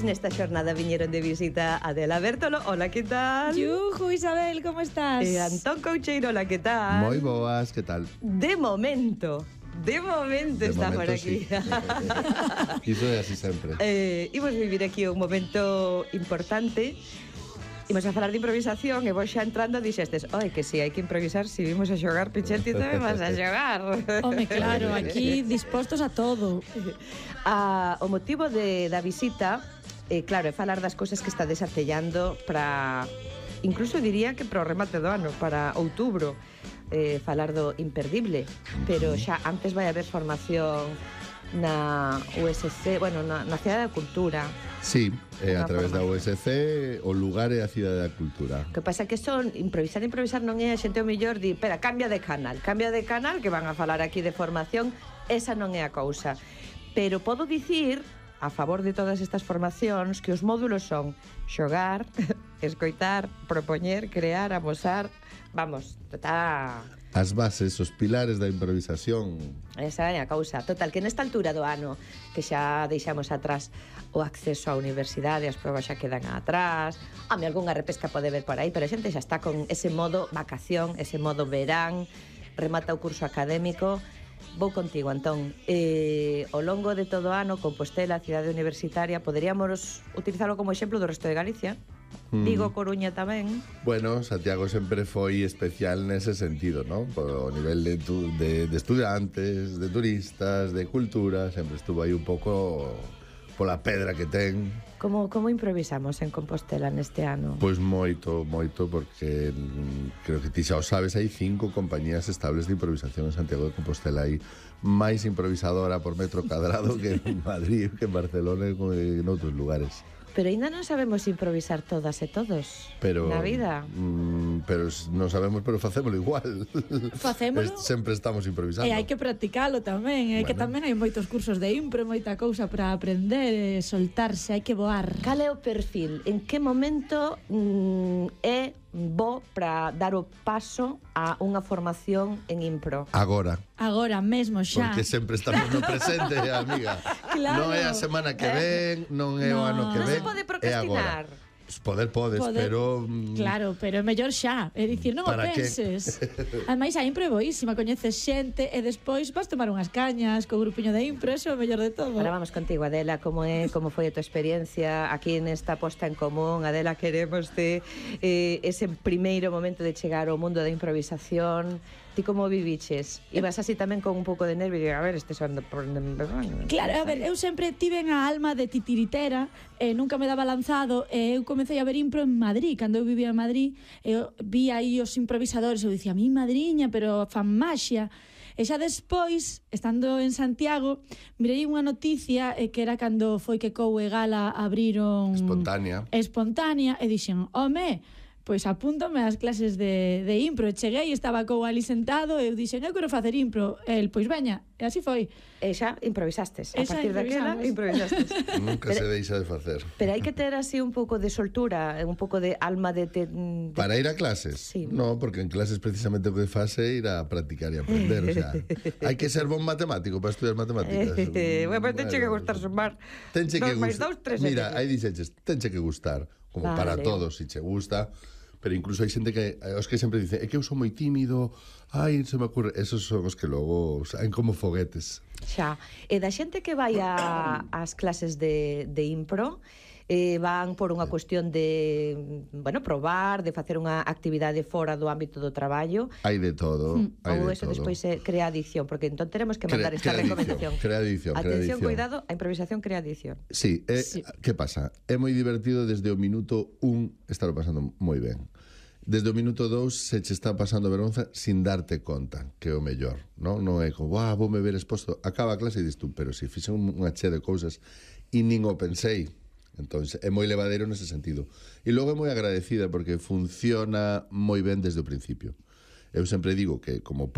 Pois nesta xornada viñeron de visita Adela Bertolo. Hola, que tal? Yuju, Isabel, como estás? E Antón Coucheiro, hola, que tal? Moi boas, que tal? De momento está por aquí. Sí. Iso é así sempre. Imos vivir aquí un momento importante. Imos a falar de improvisación e vos xa entrando dixestes, oi, que si hai que improvisar, si vimos a xogar, Pichetti, tamén vas a xogar. Home, claro, aquí dispostos a todo. O motivo da visita, claro, é falar das cousas que está desartellando para, incluso diría que para o remate do ano, para outubro, falar do imperdible, pero xa antes vai haber formación na USC, bueno, na Cidade da Cultura. Sí, a través da USC o lugar é a Cidade da Cultura. O que pasa é que son improvisar non é a xente o mellor di, espera, cambia de canal, que van a falar aquí de formación, esa non é a cousa. Pero podo dicir, a favor de todas estas formacións, que os módulos son xogar, escoitar, propoñer, crear, amosar, vamos, está... As bases, os pilares da improvisación. Esa é a causa. Total, que nesta altura do ano, que xa deixamos atrás o acceso á universidade, as probas xa quedan atrás, a mí algunha repesca pode ver por aí, pero a xente xa está con ese modo vacación, ese modo verán, remata o curso académico. Vou contigo, Antón. Ao longo de todo o ano, Compostela, a cidade universitaria, poderíamos utilizarlo como exemplo do resto de Galicia. Vigo, Coruña tamén. Bueno, Santiago sempre foi especial nese sentido, ¿no? Por nivel de estudiantes, de turistas, de cultura, sempre estuvo aí un pouco pola pedra que ten. Como improvisamos en Compostela neste ano? Pois moito, porque creo que ti xa o sabes, hai 5 compañías estables de improvisación en Santiago de Compostela. Hai máis improvisadora por metro cadrado que en Madrid, que en Barcelona e en outros lugares. Pero ainda non sabemos improvisar todas e todos na vida. Pero non sabemos, pero facémolo igual. Facémolo. Sempre estamos improvisando. E hai que practicalo tamén, que tamén hai moitos cursos de impro, moita cousa para aprender, soltarse, hai que voar. Cal é o perfil? En que momento é bo para dar o paso a unha formación en impro? Agora mesmo xa. Porque sempre estamos no presente, amiga. Claro. Non é a semana que ven, non é o ano que ven. Non se pode procrastinar. Podes, pero... Claro, pero é mellor xa. É dicir, non o penses. Ademais, a impro é boísima, coñeces xente e despois vas tomar unhas cañas co grupiño de impro, eso é o mellor de todo. Ahora vamos contigo, Adela, como foi a tua experiencia aquí nesta posta en común? Adela, queremos ese primeiro momento de chegar ao mundo da improvisación. Ti como viviches? Ibas así tamén con un pouco de nervio e a ver, son por... Claro, a ver, eu sempre tiven a alma de titiritera, nunca me daba lanzado, eu comecei a ver impro en Madrid, cando eu vivía en Madrid, eu vi aí os improvisadores, eu dicía, mi madriña, pero fan maxia. E xa despois, estando en Santiago, mirei unha noticia que era cando foi que Cou e Gala abriron Espontánea, e dixen, home, pois apúntome ás clases de impro. E cheguei, estaba Cou ali sentado, e eu dixen, eu quero facer impro. El, pois veña, e así foi. E xa improvisastes. A partir daquela improvisastes. Nunca se deixa de facer. Pero hai que ter así un pouco de soltura, un pouco de alma de... Para ir a clases? Sí. No, porque en clases precisamente o que faz é ir a practicar e aprender. O sea, hai que ser bon matemático para estudiar matemáticas. Bueno, pues tenche que gustar sumar. 2 máis 2, 3. Mira, aí dixeches, tenche que gustar, como para todos, se che gusta. Pero incluso hai xente que os que sempre dicen, é que eu sou moi tímido, ai, se me ocurre, esos son os que logo saen como foguetes. Xa, e da xente que vai ás clases de impro, van por unha cuestión de, bueno, probar, de facer unha actividade fora do ámbito do traballo. Hai de todo, hai de todo. Ou eso despois crea adicción, porque entón teremos que mandar esta recomendación. Crea adicción. Atención, cuidado, a improvisación crea adicción. Sí, que pasa? É moi divertido desde o minuto 1 estar pasando moi ben. Desde o minuto 2 se che está pasando vergonza sin darte conta, que é o mellor, non? Non é como, voume ver exposto, acaba a clase e dis tú, pero se fixen unha chea de cousas e nin o pensei. Entón, é moi levadeiro nese sentido. E logo é moi agradecida porque funciona moi ben desde o principio. Eu sempre digo que como